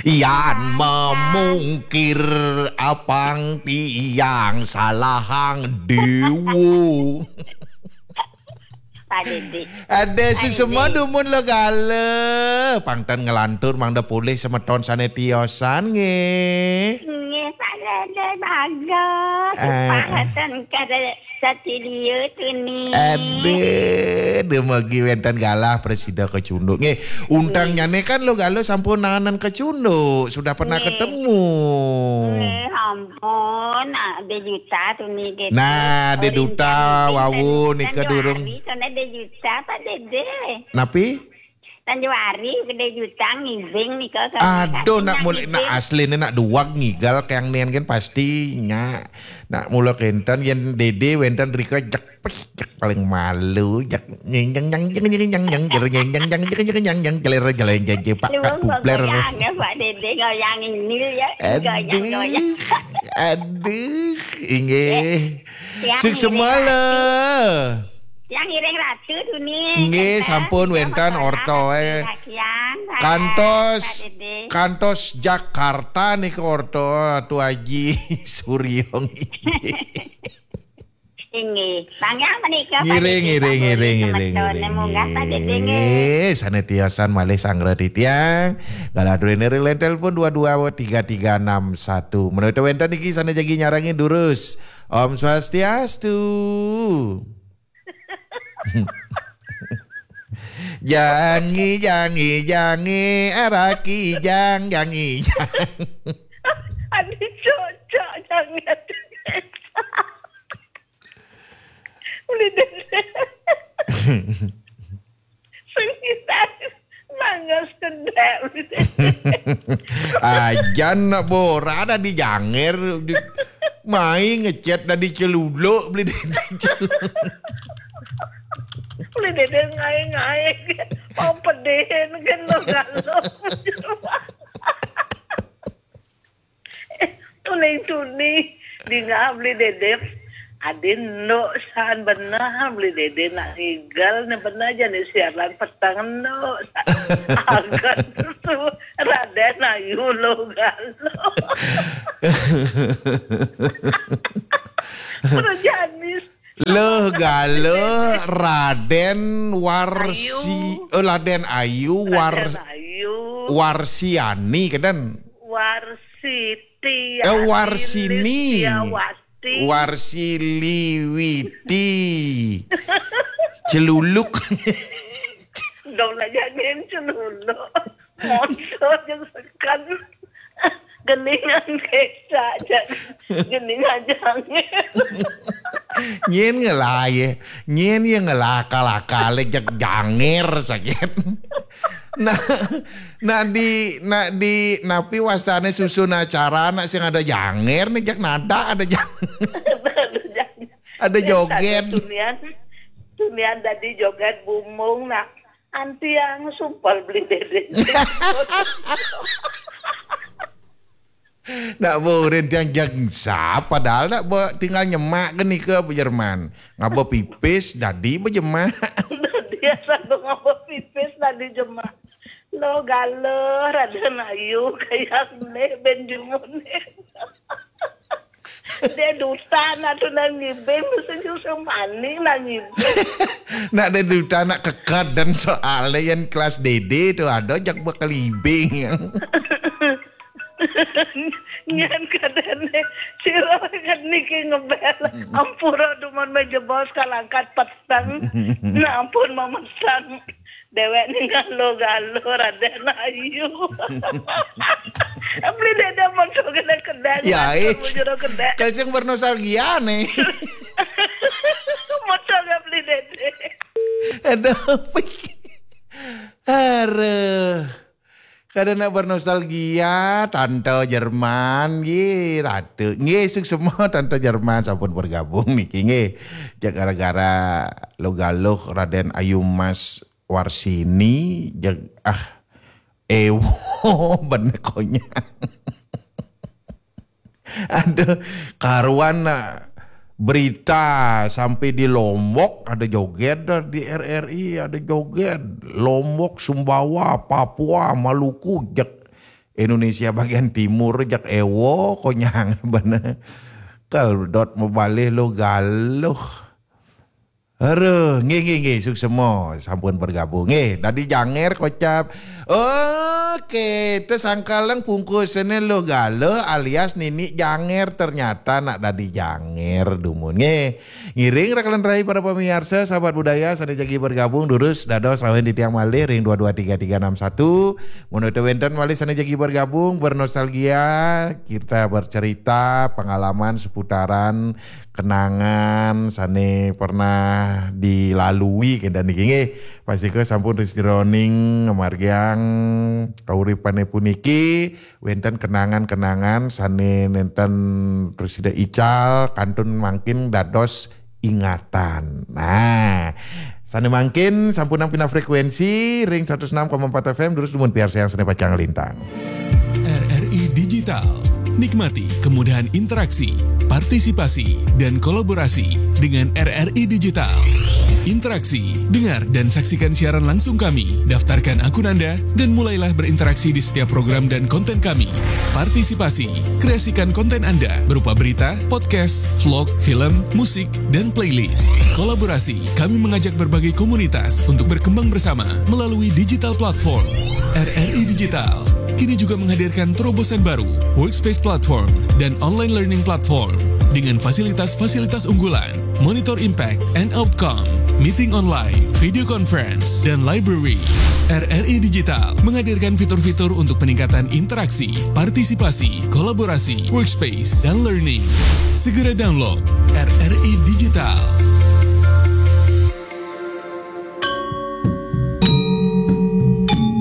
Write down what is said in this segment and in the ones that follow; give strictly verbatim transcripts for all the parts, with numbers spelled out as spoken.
Yan mamungkir apang tiang salahang dewa. Pak Dede. Ada sing semua dumun lo gala. Pangtan ngelantur mangda polih semeton sane tiosan nggih. Nggih, Pak Dede bagus. Eh. Pangatan kada satilia tuni. Aduh, demogi wenten galah presida kecunduk. Nggih, untangnyane kan lo gala sampun nanganan kecunduk, sudah pernah Nggih. Ketemu. Nggih, ampun, ah, de juta tuni gitu. Nah, de Orang duta Januari, wau Januari, nika durung. Sana de juta Pak Dede. Napi? Januari gede juta ngibing nika. Aduh, nak mulai nak asline nak duag ngigal kayang nian kan pasti nya. Nak mula kenten yen Dede wenten rika jek pes jek paling malu jek nyeng nyeng nyeng nyeng nyeng nyeng nyeng jer nyeng nyeng nyeng nyeng nyeng nyeng nyeng jeler jeler jeje pak kat kupler. Goyang ya Pak Dede, goyang ini ya. Goyang, goyang. Aduh, aduh, inggih. Yang Sing ini semala. Yang iring ratu tuni. Nggih, sampun wenten orto, eh. Kantos, Pak Dede. Kantos Jakarta nika orto Ratu Aji Suryo nggih. Inggih. Bang yang menika Pak Ngiring, Dede, ngiring, Pak ngiring, Boris, ngiring, semeton, ngiring. munggah Pak Dede nggih. Nggih, sane tiosan malih sanggra titiang. Galah duene ring line telepon dua dua tiga tiga enam satu. Menawi wenten iki sane jagi nyarangi durus. Om Swastiastu. Jangi, jangi, jangi, araki jang, jangi, jang. Aduh, cocok jangan. Udah deh. Sengkitan. Mangga sedek. Ajan nak bora dah di janger. Di, mai ngecet dah di celuluk beli di, di celuluk. Beli dede ngai-ngai. Mau pedihin kan lo galo. Tuning tuni dingah beli dede. Adin nduk san benar beli dede nak ngigal ni benar aja ni siaran petang nduk. Agan tu Raden Ayu lo galo. Perjanis. Lo galo Raden Warsi, oh, Raden Ayu War, Raden Ayu. Warsiani kedan. Warsiti. Eh, Warsini. Wasti. Warsiliwiti. Celuluk. Dong lah jangan celuluk. Montor yang sekan. Geningan desa aja. Geningan jangan. Nyen ngelai, nyen yang ngelakal-akal jak janger sakit. Nah, nak di nak di napi wastane susun acara nak sing ada janger nih jak nada ada janger. Ada joget. Tunian, tunian tadi joget bumbung nak. Anti yang sumpal beli dede. Nak burin tiang jangsa padahal nak be, tinggal nyemak ke nika Bu Jerman. Ngaba pipis dadi bejemak. Dia satu ngapa pipis tadi jemak. Lo galo Raden Ayu kayak nih ben jumun. Dia duta nak tu nang ngibing mesti justru maning nang ngibing. Nak dia duta nak kekad dan soalnya yang kelas dede tu ada jak bekelibing. Nyan kadane sira kan niki ngebel ampura dumun meja bos kalangkat peteng. Nah ampun memesan dewek ni galo-galo Raden Ayu. Beli dede muncul kena kedai. Ya, eh. Bujur kedai. Kalsing bernostalgia nih. Muncul ke beli dede. Aduh. Aduh. Kada nak bernostalgia, Tante Jerman, nggih, Ratu. Nggih, suksma Tante Jerman sampun bergabung niki, nggih. Jak gara-gara Logaluh Raden Ayu Mas Warsini, jak, ah, ewo, bener konyang. Aduh, karuan nak Berita sampai di Lombok ada joget, dah di R R I ada joget. Lombok, Sumbawa, Papua, Maluku, jak Indonesia bagian timur, jak ewo konyang bener. Kal dot mabalih lo galuh. Aduh, nggih, nggih, nggih, suksema sampun bergabung. Nggih, dadi janger kocap. Oke, tesangkalang pungkusane lo galuh alias nini janger, ternyata nak dadi janger dumun. Nggih, ngiring rekan rai para pemirsa, sahabat budaya, sane jagi bergabung, durus dados rawuh titiang malih ring dua dua tiga tiga enam satu. Mun wenten malih sane jagi bergabung, bernostalgia, kita bercerita pengalaman seputaran kenangan sane pernah dilalui kenten niki nggih. Pastika sampun ring sajeroning ngamargiang kauripane puniki wenten kenangan-kenangan sane nenten prasida ical kantun mangkin dados ingatan. Nah, sane mangkin sampun nampi frekuensi ring seratus enam koma empat F M, durus dumun piarsayang sane pacang lintang. R R I Digital. Nikmati kemudahan interaksi, partisipasi, dan kolaborasi dengan R R I Digital. Interaksi, dengar dan saksikan siaran langsung kami. Daftarkan akun Anda dan mulailah berinteraksi di setiap program dan konten kami. Partisipasi, kreasikan konten Anda berupa berita, podcast, vlog, film, musik, dan playlist. Kolaborasi, kami mengajak berbagai komunitas untuk berkembang bersama melalui digital platform. R R I Digital kini juga menghadirkan terobosan baru, Workspace Platform, dan Online Learning Platform, dengan fasilitas-fasilitas unggulan, Monitor Impact and Outcome, Meeting Online, Video Conference, dan Library. R R I Digital menghadirkan fitur-fitur untuk peningkatan interaksi, partisipasi, kolaborasi, workspace, dan learning. Segera download R R I Digital.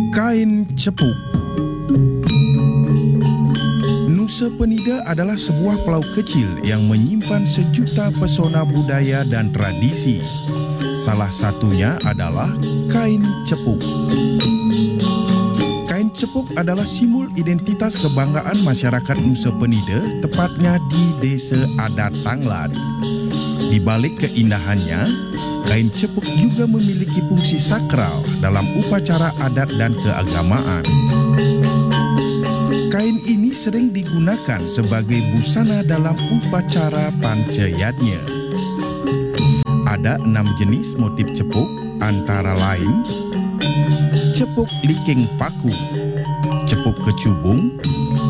Kain cepuk. Nusa Penida adalah sebuah pulau kecil yang menyimpan sejuta pesona budaya dan tradisi. Salah satunya adalah kain cepuk. Kain cepuk adalah simbol identitas kebanggaan masyarakat Nusa Penida, tepatnya di Desa Adat Tanglad. Di balik keindahannya, kain cepuk juga memiliki fungsi sakral dalam upacara adat dan keagamaan. Kain ini sering digunakan sebagai busana dalam upacara pancayadnya. Ada enam jenis motif cepuk, antara lain cepuk liking paku, cepuk kecubung,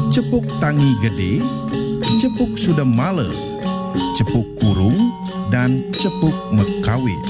cepuk tangi gede, cepuk sudemala, cepuk kurung, dan cepuk mekawis.